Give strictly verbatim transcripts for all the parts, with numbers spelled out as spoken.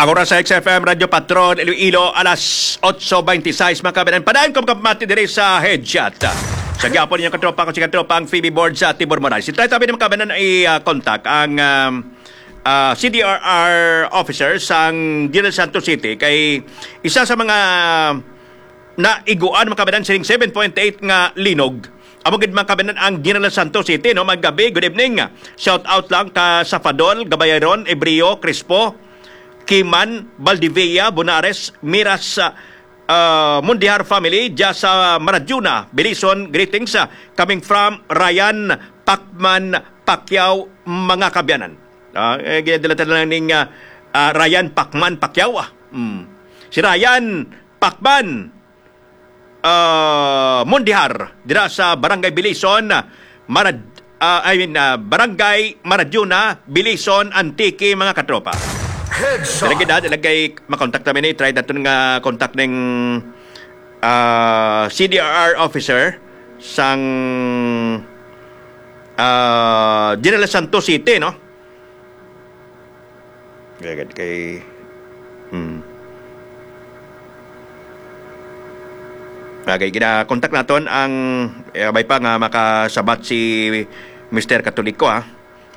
Ang oras sa X F M Radio Patrol Iloilo, alas otso beintiseis, mga kababayan. Padayon ko magpamati diri sa headshot. Sa gihapon ninyo katropa, ko si katropang Phoebe Board sa Tibor Moray. Si Try Tabi, mga kababayan, i-contact ang um, ah, C D R R officer sang General Santos City kay isa sa mga naiguan, mga kababayan, sining seven point eight nga linog. Amo gid, mga kababayan, ang General Santos City, no? Maggabi, good evening. Shout out lang ka Safadol, Gabayaron, Ebrio, Crispo, Kiman, Valdivia, Bonares, Miras, ah, Mundijar family, dia sa Maradiuna, Belison, greetings, ah, coming from Ryan Pacman Pacquiao, mga kababayan. Ah, eh, ginadala-dala lang ning, ah, ah, Ryan Pacman Pacquiao, ah. Mm. Si Ryan Pacman, ah, Mondejar, dira sa Barangay Bilison, Marad-, ah, I mean, ah, Barangay Maradiuna, Bilison, Antique, mga katropa. Headshot. Lagi na, lagi makontak namin ni, try natin nga contact ng, ah, C D R R officer sang, ah, General Santos City, no? Kaya gid kay, hmm. Kay gina-contact naton ang, eh, may pa nga makasabat si Mister Katoliko, ha.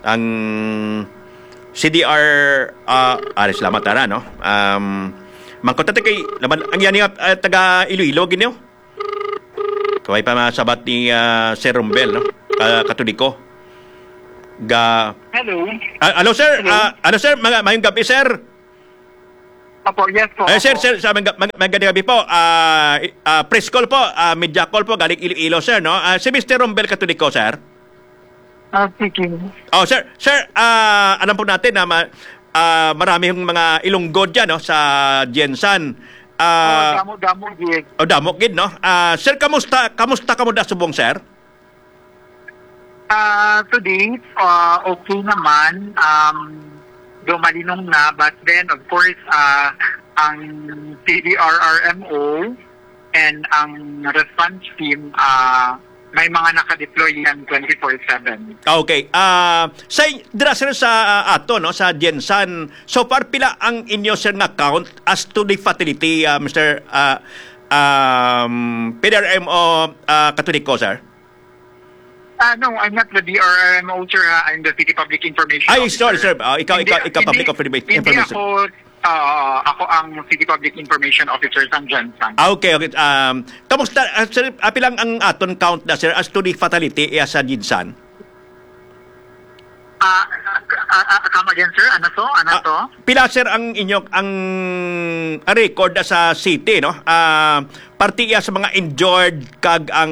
Ang C D R, ah, ah, salamat, ara, no? Um, mangkot natin kay, laban, ang yan nga, ah, taga Iloilo, gid niyo? Kaway pa masabat ni, ah, Sir Rombel, no? Ka-, Katoliko. Ga- Hello. Ah, hello, sir. Hello. Ah, hello, sir. Mga, mayong gabi, sir. Opo, yes po, Eh, sir, opo. sir, sa mga, mga, mga gabi po. Ah, i-, ah, press call po, ah, media call po, galing Iloilo, sir, no? Ah, si Mister Rombel Katoliko, sir. Ah, speaking. Oh, sir, sir, ah, alam po natin na ma-, ah, marami yung mga Ilonggo dyan, no, sa Gensan. Ah, Oh, damo, damo, gid. Oh, damo gid, no? Ah, sir, kamusta, kamusta kamo da subong, sir? Ah, today, ah, okay naman. Um, do malinong na, but then, of course, ah, ang C D R R M O and ang response team, ah, may mga naka-deploy yan twenty-four seven. Ah, okay. Ah, sa, dira, sir, sa, ah, ato, no, sa Gensan, so far, pila ang inyo, sir, nga count as to the fatality, ah, Mister, ah, um, P D R M O, ah, Katoliko, sir? Ah, no, I'm not the D R R M O, sir, ha. I'm the City Public Information Ay, Officer. sorry, sir. Ah, ikaw, Hindi, ikaw, ikaw, hindi, Public Informa-, hindi Information. ako, ah, ako ang City Public Information Officer sa Gensan. Ah, okay, okay. Um, kamusta, ah, sir, ah, pilang ang aton count na, sir, as to the fatality, eh, sa Gensan? Ah, ah, ah, ah, come again, sir? Ano to? Ano Ah, to? pila, sir, ang inyo, ang, ang record sa city, no? Ah, parte iya sa mga injured kag ang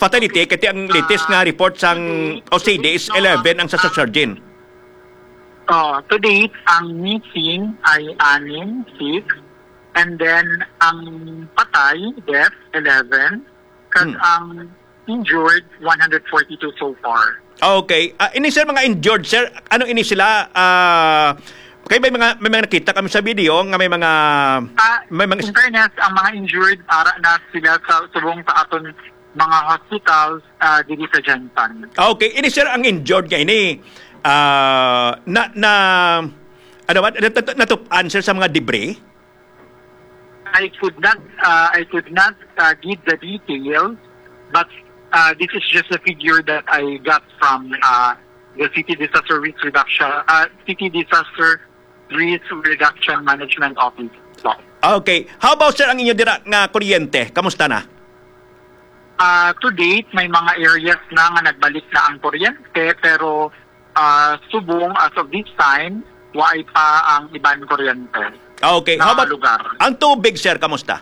fatality, kay ang latest nga report sang O C D is eleven ang sa Surgeon. Oh, to date, ang missing ay anim, six, and then ang patay, death, eleven, kag Hmm. ang injured, one hundred forty-two so far. Okay. Ah, ini, sir, mga injured, sir, ano ini sila? Ah, kay may mga, may mga nakita kami sa video nga may mga, Ah, may mga in fairness, ang mga injured, ara na sila sa subong sa aton mga hospitals, ah, diri sa Gensan. Ah, okay. Ini, sir, ang injured nga ini, ah, na, na, ano ba, nat-, nat-, natup-an, sir, sa mga debris? I could not, uh, I could not, uh, give the details, but, uh, this is just a figure that I got from, uh, the City Disaster Risk Reduction, uh, City Disaster Risk Reduction Management Office. So, Ah, okay. How about, sir, ang inyo dira nga kuryente? Kamusta na? Ah, to date, may mga areas na nga nagbalik na ang kuryente, pero, ah, subong as of this time, waay pa ang iban kuryente Ah, okay. How na about lugar. ang tubig, sir? Kamusta?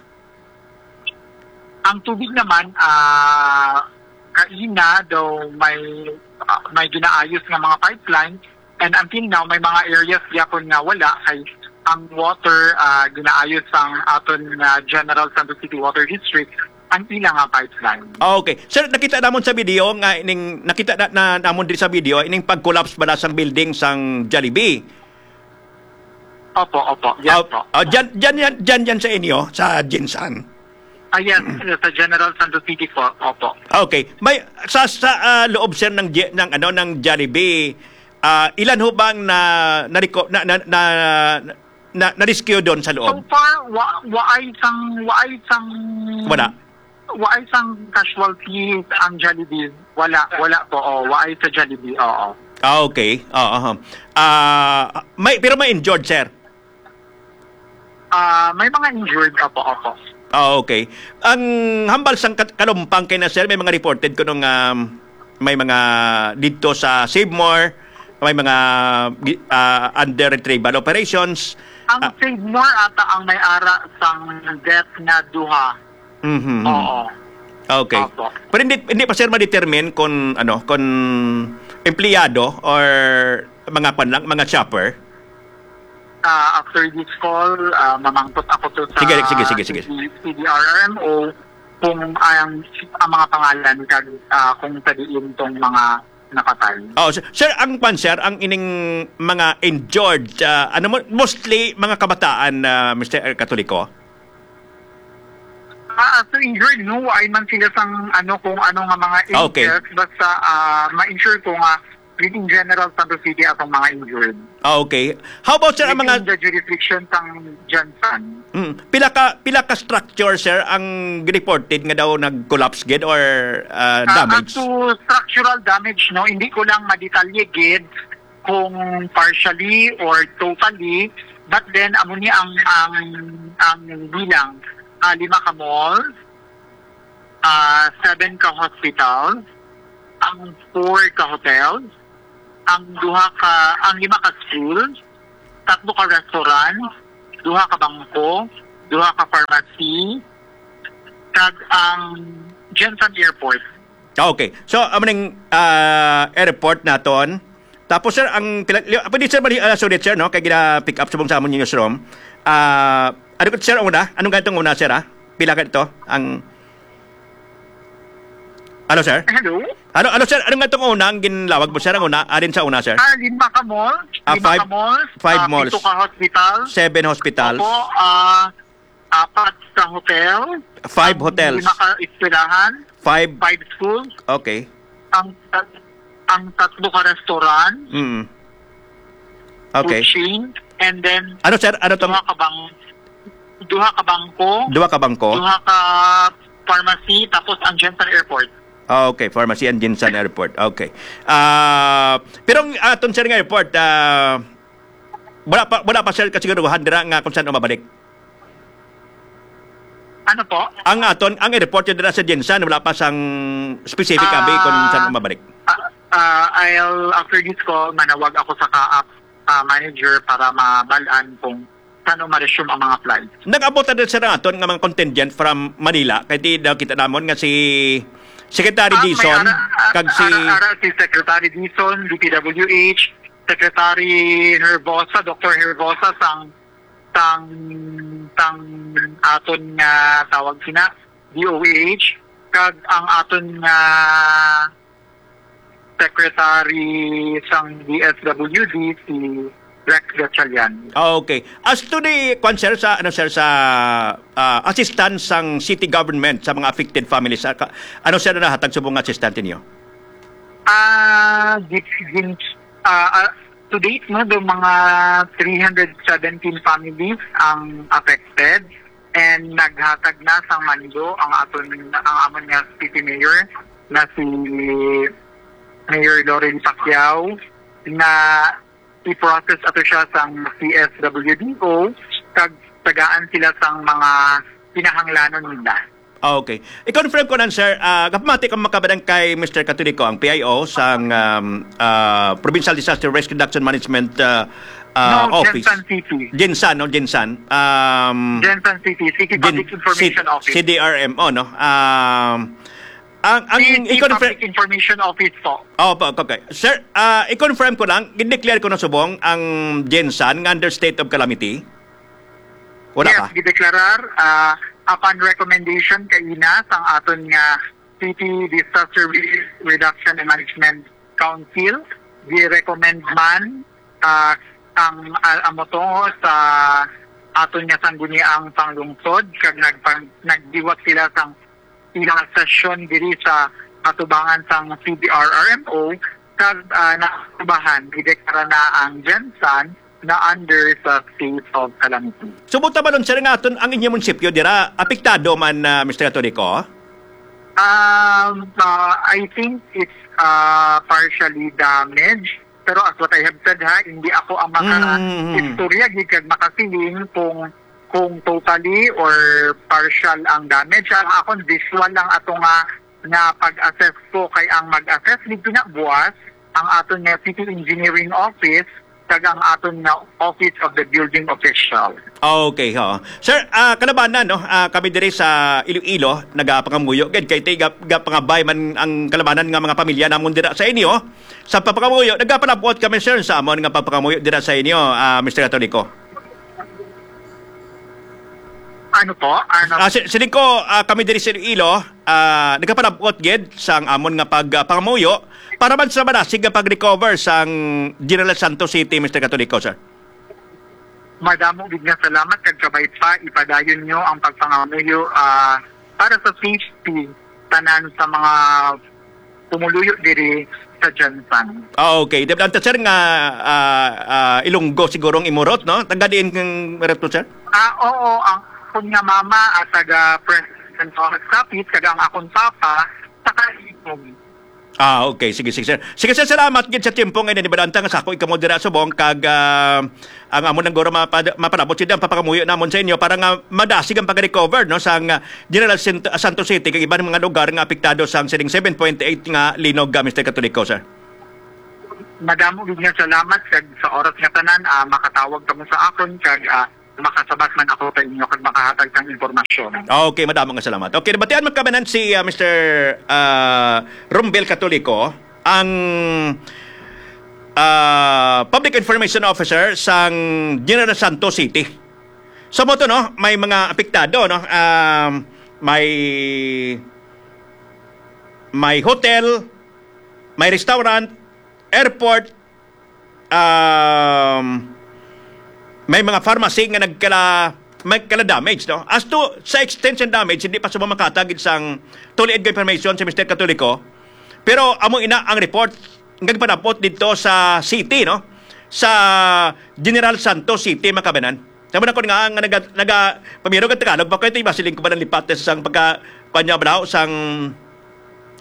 Ang tubig naman, ah, kaina daw may, ah, may ginaayos nga mga pipeline, and until now, may mga areas gyapon nga wala, kay ang water, ah, ginaayos sang aton nga General Santos City Water District ang ila nga pipeline. Ah, okay. Sir, nakita namon sa video nga ining, nakita na, na namon diri sa video ining pag-collapse bala sang building sang Jollibee. Opo, opo. Yes Ah, po. ah, dyan, dyan yan, dyan yan sa inyo, sa Gensan. Ah, yes, sa General Santos City po. Opo. Okay. May sa, sa, ah, loob, sir, ng Ge-, ng ano, ng Jollibee, ah, ilan ho bang na, na, na, na, na, na-rescue doon sa loob? So far, wa, waay sang, waay sang Wala. Waay sang casualty ang Jollibee. Wala, wala po. Oh, waay sa Jollibee. Oo. Ah, okay. Oo, aha. Ah, may, pero may injured, sir? Ah, may mga injured, opo, opo. Ah, okay. Ang hambal sang kat-, kalumpang kay na, sir, may mga reported kuno nga, um, may mga dito sa Save More, may mga gi-, ah, under retrieval operations. Ang Ah. Save More ata ang may ara sang death nga duha. Mhm. Oo. Okay. Opo. Pero hindi, hindi pa, sir, ma-determine kung, ano, kung empleyado or mga kwan lang, mga shopper? Ah, after this call, ah, mamangkot ako to sa Sige, sige, sige, sige. C D, C D R R M O kung ang, ang mga pangalan kag, ah, kung sa diin tong mga napatay. Oh, sir, sir, ang kwan, sir, ang ining mga injured, ah, ano mo, mostly mga kabataan, ah, Mister Katoliko? Ah, as to injured, no, ay man sila sang, ano, kung ano nga mga Ah, okay. injuries, basta, ah, ma-ensure ko nga within general Santos City atong mga injured. Ah, okay. How about, sir, ang mga Within the jurisdiction sang Gensan. Mm. Pila ka, pila ka structure, sir, ang reported nga daw nag-collapse gid or, ah, Ah, damage? As to structural damage, no, hindi ko lang madetalye gid kung partially or totally, but then amo ni ang, ang, ang bilang, ah, lima ka malls, ah, seven ka hospitals, ang four ka hotels, ang duha ka, ang lima ka schools, tatlo ka restaurant, duha ka bangko, duha ka pharmacy, kag ang Gensan Airport. Ah, okay. So, amo ning, ah, airport naton. Tapos, sir, ang pila-, li-, pwede, sir, mali-, ah, sulit, sir, no? Kay gina-pick up subong sa amon yung newsroom. Ah, ano ka, sir, ang una? Anong ganitong una, sir, ah? Pila ka ito? Ang Hello, sir? Hello? Hello, hello, sir. Anong ganitong una ang ginlawag mo, sir? Ang una, alin sa una, sir? Ah, lima ka malls. Ah, Lima five, ka malls. five Ah, malls. Pito ka hospital. Seven hospitals. Opo, ah, apat ka hotel. Five Ang hotels. Lima ka eskwelahan. Five. Five schools. Okay. Ang tat-, ang tatlo ka restaurant. Mm. Okay. Food chain. And then, Ano, sir? Ano tong duha ka bang-, duha ka bangko. Duha ka bangko? Duha ka pharmacy, tapos ang Gensan Airport. Ah, okay. Pharmacy and Gensan Airport. Okay. Ah, pero ang aton, sir, nga airport, ah, wala pa, wala pa, sir, kasiguruhan dira nga kung saan mabalik. Ano po? Ang aton, ang airport yun dira sa Gensan, wala pa sang specific, Ah, abi, kung saan mabalik. Ah, ah, I'll, after this call, manawag ako sa CAAP, ah, manager para mabalaan kung saan ma-resume ang mga flights. Nag-abot na din, sir, ang aton nga mga contingent from Manila. Kay di daw kita namon nga si Secretary Ah, may Dizon, ara-, ah, kag si ara-, ara si Secretary Dizon, D P W H, Secretary Herbosa, Doctor Herbosa, sang, sang, sang aton nga tawag sina, D O H, kag ang aton nga Secretary sang D S W D, si Rex Gatchalian. Ah, okay. As to the, kwan, sir, sa, ano, sir, sa, ah, assistance sang city government sa mga affected families, ah, ka-, ano, sir, nahatag subong nga assistance ninyo? Ah, gin-, gin-, ah, ah, to date, no, do mga three hundred seventeen families ang affected and naghatag na sang mando ang aton, ang amon nga city mayor na si Mayor Loren Pacquiao na i-process ato siya sang C S W D O kag tagaan sila sang mga kinahanglanon nila. Ah, okay. I-confirm ko lang, sir, ah, kapamati ko makabadang kay Mister Catolico, ang P I O sang, um, ah, Provincial Disaster Risk Reduction Management, ah, ah, No, Office. Gensan City. Gensan, no? Gensan. Um, Gensan City, City Gen-, Public Information City, Office. C D R M O, no? Um, ang, ang City i-confirm Public Information Office po. Opo, okay. Sir, ah, i-confirm ko lang, gin-declare ko na subong ang Gensan nga under state of calamity? Wala Yes, pa? Gideklarar, ah, upon recommendation kaina sang aton nga City Disaster Risk Reduction and Management Council, gi-recommend man, ah, ang, ah, amo to sa aton nga sangguniang panglungsod, kag nagpang-, nagdiwat sila sang ilang sesyon diri sa atubangan sang C D R R M O, kag, ah, naaprubahan, gideklara na ang Gensan na under sa state of calamity. So, buta balon, sir, nga aton ang inyong munisipyo dira apektado man, ah, Mister Catolico? Um, uh, I think it's uh, partially damaged. Pero as what I have said, ha, hindi ako ang maka-istorya gid kag makasiling kung kung totally or partial ang damage. Ang akon visual lang ato nga nga pag-assess ko, kay ang mag-assess dito na buwas ang aton nga City Engineering Office kag ang aton nga Office of the Building Official. Okay, ho. Sir, ah, kalabanan, no? Ah, kami diri sa Iloilo, nagapangamuyo gid kay ti ga, ga pangabay man ang kalabanan nga mga pamilya namon dira sa inyo. Sa pagpangamuyo, nagapalabot kami, sir, sa amon nga pagpangamuyo dira sa inyo, ah, Mister Catolico. Ano po? Ano? Ah, si, siling ko, ah, kami diri sa Iloilo, ah, nagapalabot gid sang amon nga pag, ah, pangamuyo para man sa madasig nga pag-recover sang General Santos City, Mister Catolico, sir. Madamo gid nga salamat kag kabay pa ipadayon nyo ang pagpangamuyo, ah, para sa safety tanan sa mga pumuluyo diri sa Gensan. Ah, okay. Depende, sir, nga, ah, ah, Ilonggo siguro ang imurot, no? Taga diin kang Reto, sir? Ah, oo. Ang akon nga mama at taga President Rojas Capiz, kag ang akon papa taga Ilonggo. Ah, okay. Sige, sige, sir. Sige, sir, salamat gid sa tiyempo nga ini. Balanta nga sako ikamo dira subong kag, ah, ang amon nang guro mapad-, mapalabot sila ang papangamuyo namon sa inyo para nga madasig ang pag-recover, no, sang, ah, General Sint-, Santos City kag iban mga lugar nga apektado sang sining seven point eight nga linog, ah, Mister Catolico, sir. Madamo gid nga salamat kag sa oras nga tanan, ah, makatawag kamo sa akon kag, ah, makasabat man ako sa inyo kag makahatag sang impormasyon. Okay, madamo nga salamat. Okay, nabatian man kami nan si, ah, Mister, ah, Rombel Catolico, ang, ah, Public Information Officer sang General Santos City. So, mo to, no, may mga apektado, no? Um, may, may hotel, may restaurant, airport, um, may mga pharmacy nga nagkala, may kala damage, no? As to sa extent ng damage, hindi pa subong makatag sang tuliid nga information si Mister Catolico. Pero amo ina ang report nga gipanabot dito sa city, no? Sa General Santos City, mga kabanan. Tama na ko nga, nga naga, naga, pamiro ka Tagalog, bakit iba siling ko ba ng lipat sa sang pagka, kanya balaw, sang,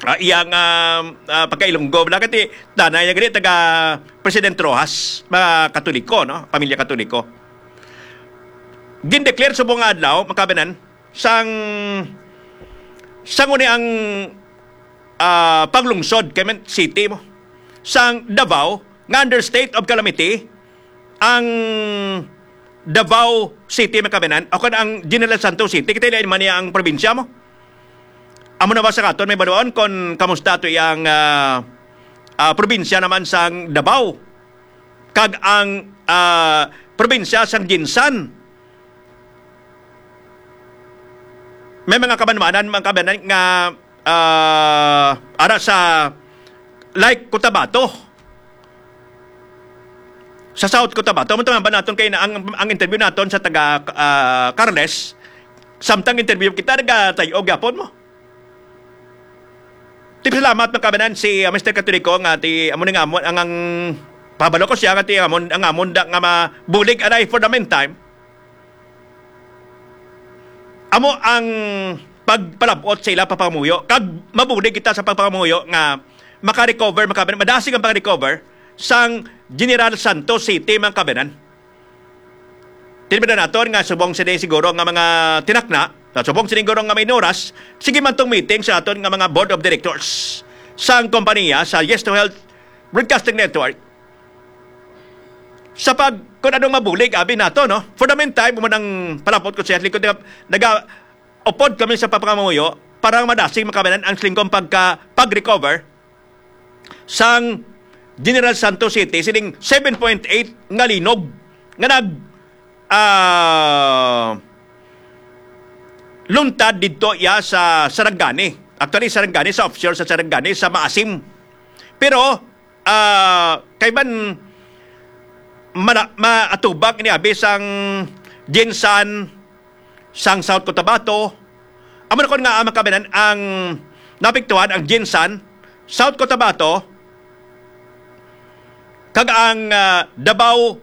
ah, iyang, ah, ah, pagka-Ilonggo, bala kati, nanay niya gani, taga President Rojas, mga Katoliko, no? Pamilya Katoliko. Gindeclare subong nga adlaw, mga kabanan, sang, sang uni ang, ah, paglungsod, kay man city mo, sang Davao, nga under state of calamity, ang Davao City, mga kabanan, o kon ang General Santos City, kita ilain man niya ang probinsya mo. Amo na ba sa katon, may baluon kon kamusta to iyang, ah, ah, probinsya naman sang Davao? Kag ang, ah, probinsya sang Gensan. May mga kabanwanan, mga kabanan nga, ah, ara sa, like, Cotabato. Sa South Cotabato, mo ba naton kay na ang, ang interview naton sa taga, ah, Carles, samtang interview kita, nagatayo gyapon mo. Tip salamat, mga kabanan, si, ah, Mister Catolico nga ti amo ni nga amo ang, ang pabalo ko siya nga ti amon ang amon da nga mabulig anay for the meantime. Amo ang pagpalabot sa ila papangamuyo kag mabulig kita sa pagpangamuyo nga maka-recover, maka-, madasig ang pag-recover sang General Santos City, mga kabanan. Tinubdan naton nga subong sini siguro nga mga tinakna, nga subong sini siguro nga may oras, sige man tong meeting sa aton nga mga board of directors sang kompanya sa Yes to Health Broadcasting Network. Sa pag, kung anong mabulig, abi nato, no? For the meantime, mo nang palapot ko siya, likod nga, nagaupod kami sa papangamuyo para madasig makabanan ang siling kong pagka, pag-recover sang General Santos City, sining seven point eight nga linog nga nag, ah, luntad didto iya sa Sarangani. Actually, Sarangani, sa offshore sa Sarangani, sa Maasim. Pero, ah, kay man mala-, maatubang ini abi sang Gensan, sang South Cotabato. Amo na kon nga, ah, makabanan ang naapektuhan ang Gensan, South Cotabato, kag ang, ah, Davao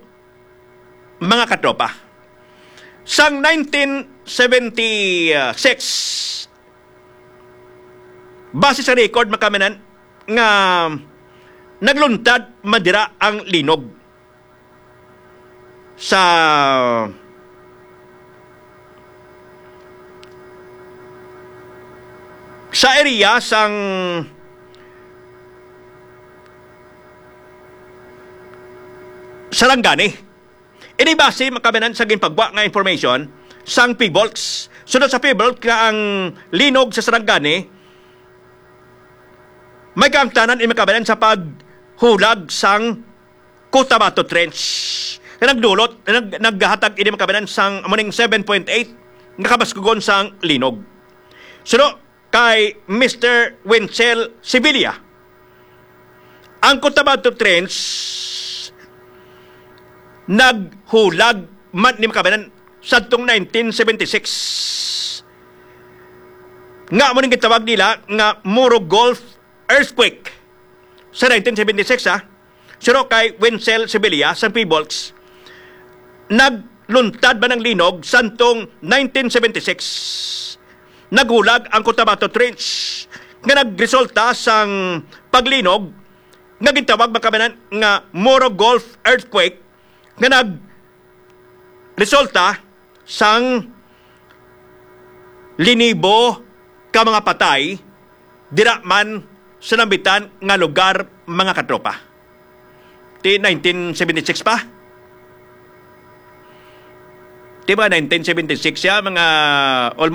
mga katropa. Sang nineteen seventy-six, base sa record, mga kaabyanan, nga nagluntad man dira ang linog sa, sa area sang Sarangani. Ini base, mga kaabyanan, sa ginpagwa nga information sang PHIVOLCS. Sunod sa PHIVOLCS nga ang linog sa Sarangani, may kaangtanan ini, mga kaabyanan, sa paghulag sang Cotabato Trench. Nga nagdulot, nag-, naghatag ini, mga kaabyanan, sang amo ning seven point eight nga kabaskugon sang linog. Suno kay Mister Wenzel Sevilla, ang Cotabato Trench naghulag man ni, mga kaabyanan, sadtong nineteen seventy-six, nga amo ning gitawag nila nga Moro Gulf earthquake sa nineteen seventy-six, ha. Suno kay Wenzel Sevilla sang PHIVOLCS, nagluntad man ang linog sadtong nineteen seventy-six. Naghulag ang Cotabato Trench nga nagresulta sang paglinog nga gintawag, mga kaabyanan, nga Moro Gulf earthquake, nga nagresulta sang linibo ka mga patay dira man sa nambitan nga lugar, mga katropa. Ti nineteen seventy-six pa? Di ba, nineteen seventy-six siya, mga almost